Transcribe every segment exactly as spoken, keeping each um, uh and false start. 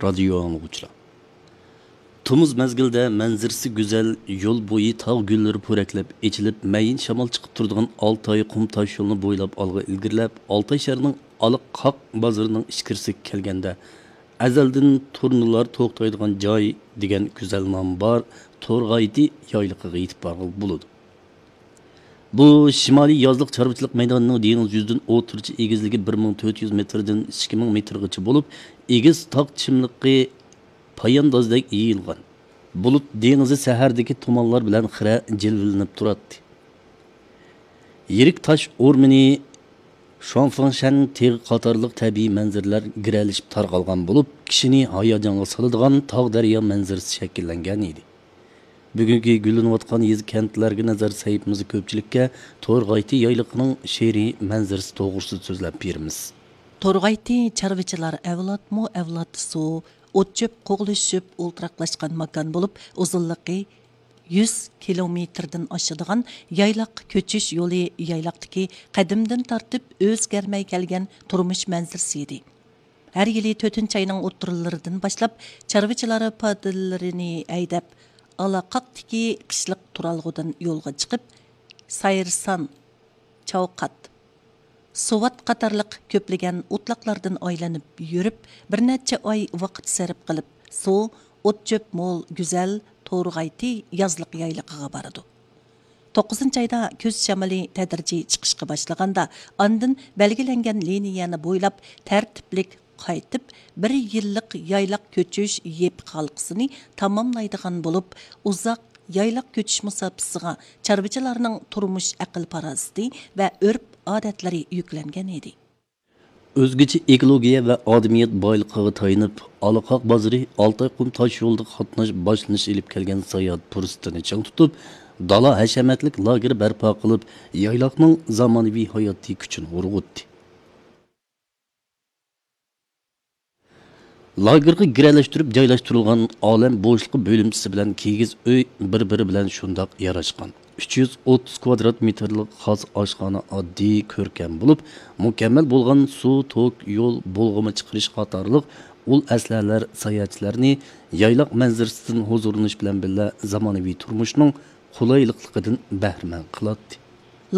رادىيو ئاڭلىغۇچىلار. تومۇز مەزگىلدە مەنزىرىسى گۈزەل، يول بويى تاغ گۈللىرى پورەكلەپ ئېچىلىپ، مەيىن شامال چىقىپ تۇرىدىغان ئالتاي قۇم تاش يولىنى بويلاپ ئالغا ئىلگىرىلەپ، ئالتاي شەھىرىنىڭ ئالا قاق بازىرىنىڭ ئىچكىرىسىگە كەلگەندە، ئەزەلدىن تۇرنىلار توختايدىغان جاي دېگەن گۈزەل نامى بار تورغايتى يايلىقىغا يېتىپ بارغىلى بولىدۇ. بۇ شىمالىي يازلىق چارۋىچىلىق مەيدانىنىڭ دېڭىز يۈزىدىن ئوتتۇرىچە ئېگىزلىكى بىر مىڭ تۆت يۈز مېتىردىن ئىككى مىڭ مېتىرغىچە بولۇپ، ئېگىز تاغ چىملىقى پاياندازدەك يېيىلغان. بۇلۇت دېڭىزى سەھەردىكى تۇمانلار بىلەن خىرە جىلۋىلىنىپ تۇراتتى. يىرىك تاش ئورمىنى، شۇاڭفېڭشەن تېغى قاتارلىق تەبىئىي مەنزىرىلەر گىرەلىشىپ تارقالغان بولۇپ، كىشىنى ھاياجانغا سالىدىغان تاغ دەريا مەنزىرىسى شەكىللەنگەن ئىدى. بۈگۈنكى گۈللىنىۋاتقان يېزا كەنتلەرگە نەزەر سەھىپىمىزدە كۆپچىلىككە تورغايتى يايلىقىنىڭ شېئىرىي مەنزىرىسى توغرىسىدا سۆزلەپ بېرىمىز. تورغايتى چارۋىچىلار ئەۋلادمۇ ئەۋلاد سۇ، ئوت-چۆپ قوغلىشىپ ئولتۇراقلاشقان ماكان بولۇپ، ئۇزۇنلۇقى يۈز كىلومېتىردىن ئاشىدىغان يايلاق كۆچۈش يولى يايلاقتىكى قەدىمدىن تارتىپ ئۆزگەرمەي كەلگەن تۇرمۇش مەنزىرىسى ئىدى. ھەر يىلى تۆتىنچى ئاينىڭ ئوتتۇرىلىرىدىن باشلاپ، چارۋىچىلار پادىلىرىنى ھەيدەپ، ئالاقاقتىكى قىشلىق تۇرالغۇدىن يولغا چىقىپ، سايرىسان، چاۋقات، سوۋات قاتارلىق كۆپلىگەن ئوتلاقلاردىن ئايلىنىپ يۈرۈپ، بىر نەچچە ئاي ۋاقىت سەرپ قىلىپ، سۇ، ئوت-چۆپ مول، گۈزەل، تورغايتى يازلىق يايلىقىغا بارىدۇ. توققۇزىنچى ئايدا كۈز شامىلى تەدرىجىي چىقىشقا باشلىغاندا، ئاندىن بەلگىلەنگەن لىنىيەنى بويلاپ تەرتىپلىك قايتىپ، بىر يىللىق يايلاق كۆچۈش يېپىق ھالقىسىنى تاماملايدىغان بولۇپ، ئۇزاق يايلاق كۆچۈش مۇساپىسىغا چارۋىچىلارنىڭ تۇرمۇش ئەقىل-پاراسىتى ۋە ئۆرپ-ئادەتلىرى يۈكلەنگەن ئىدى. ئۆزگىچە ئېكولوگىيە ۋە ئادەمىيەت بايلىقىغا تايىنىپ، ئالاقاق بازىرى ئالتاي قۇم تاش يولىدا قاتناش باشلىنىش ئېلىپ كەلگەن ساياھەت پۇرسىتىنى چىڭ تۇتۇپ، دالا ھەشەمەتلىك لاگېر بەرپا قىلىپ، يايلاقنىڭ زامانىۋى ھاياتىي كۈچىنى ئۇرغۇتتى. لاگېرغا گىرەلەشتۈرۈپ جايلاشتۇرۇلغان ئالەم بوشلۇقى بۆلۈمچىسى بىلەن كىگىز ئۆي بىر-بىرى بىلەن شۇنداق ياراشقان. ئۈچ يۈز ئوتتۇز كۋادرات مېتىرلىق خاس ئاشخانا ئاددىي، كۆركەم بولۇپ، مۇكەممەل بولغان سۇ، توك، يول، بۇلغىما چىقىرىش قاتارلىق ئۇل ئەسلىھەلەر ساياھەتچىلەرنى يايلاق مەنزىرىسىدىن ھۇزۇرلىنىش بىلەن بىللە، زامانىۋى تۇرمۇشنىڭ قولايلىقلىقىدىن بەھرىمەن قىلاتتى.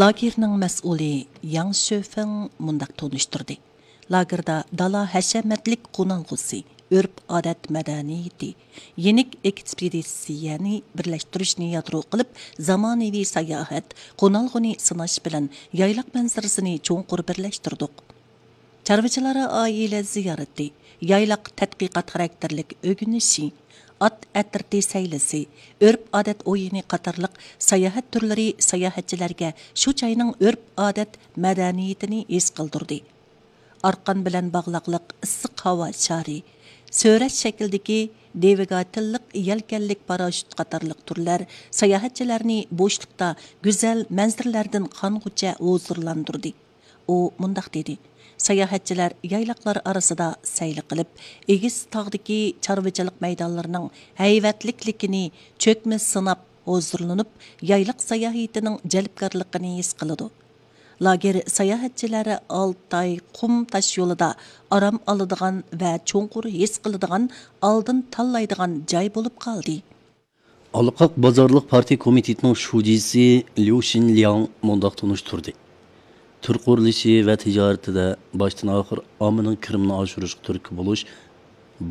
لاگېرنىڭ مەسئۇلى ياڭ شۆفېڭ مۇنداق تونۇشتۇردى. لاگېردا دالا ھەشەمەتلىك قونالغۇسى، ئۆرپ-ئادەت مەدەنىيىتى، يېنىك ئېكسپېدىتسىيەنى بىرلەشتۈرۈشنى يادرو قىلىپ، زامانىۋى ساياھەت، قونالغۇنى سىناش بىلەن يايلاق مەنزىرىسىنى چوڭقۇر بىرلەشتۈردۇق. چارۋىچىلار ئائىلە زىيارىتى، يايلاق تەتقىقات خاراكتېرلىك ئۆگىنىشى، ئات ئەترىتى سەيلىسى، ئۆرپ-ئادەت ئويۇنى قاتارلىق ساياھەت تۈرلىرى ساياھەتچىلەرگە شۇ جاينىڭ ئۆرپ-ئادەت مەدەنىيىتىنى ھېس قىلدۇردى. ئارقان بىلەن باغلاقلىق ئىسسىق ھاۋا شارى، سۆرەش شەكلىدىكى دىۋىگاتېللىق يەلكەنلىك پاراشۇت قاتارلىق تۈرلەر ساياھەتچىلەرنى بوشلۇقتا گۈزەل مەنزىرىلەردىن قانغۇچە ھۇزۇرلاندۇردى. ئۇ مۇنداق دېدى: ساياھەتچىلەر يايلاقلار ئارىسىدا سەيلە قىلىپ، ئېگىز تاغدىكى چارۋىچىلىق مەيدانلىرىنىڭ ھەيۋەتلىكلىكىنى چۆكمە سىناپ، ھۇزۇرلىنىپ، يايلاق ساياھىتىنىڭ جەلپكارلىقىنى ھېس قىلىدۇ. لاگېر ساياھەتچىلەر ئالتاي قۇم تاش يولىدا ئارام ئالىدىغان ۋە چوڭقۇر ھېس قىلىدىغان، ئالدىن تاللايدىغان جاي بولۇپ قالدى. ئالاقاق بازارلىق پارتىيە كومىتېتىنىڭ شۇجىسى ليۇ شىنلياڭ مۇنداق تونۇشتۇردى: تۈر قۇرۇلۇشى ۋە تىجارىتىدە باشتىن ئاخىر ئاممىنىڭ كىرىمىنى ئاشۇرۇشقا تۈرتكە بولۇش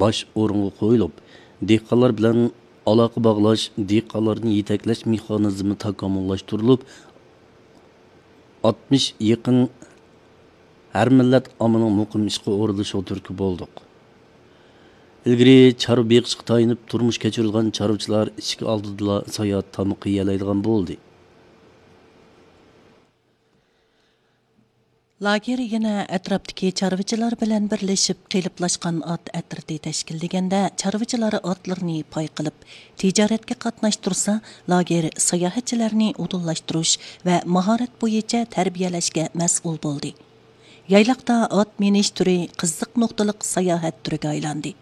باش ئورۇنغا قويۇلۇپ، دېھقانلار بىلەن ئالاقە باغلاش، دېھقانلارنى يېتەكلەش مېخانىزمى تاكامۇللاشتۇرۇلۇپ، ئاتمىش يېقىن ھەر مىللەت ئاممىنىڭ مۇقىم ئىشقا ئورۇنلىشىغا تۈرتكە بولدۇق. ئىلگىرى چارۋا بېقىشقا تايىنىپ تۇرمۇش كەچۈرىدىغان چارۋىچىلار ئىشىك ئالدىدىلا ساياھەت تامىقى يېيەلەيدىغان بولدى. لاگېر يەنە ئەتراپتىكى چارۋىچىلار بىلەن بىرلىشىپ قېلىپلاشقان ئات ئەترىتى تەشكىللىگەندە، چارۋىچىلار ئاتلىرىنى پاي قىلىپ، تىجارەتكە قاتناشتۇرسا، لاگېر ساياھەتچىلەرنى ئۇدۇللاشتۇرۇش ۋە ماھارەت بويىچە تەربىيەلەشكە مەسئۇل بولدى. يايلاقتا ئات مىنىش تۈرى قىزىق نۇقتىلىق ساياھەت تۈرىگە ئايلاندى.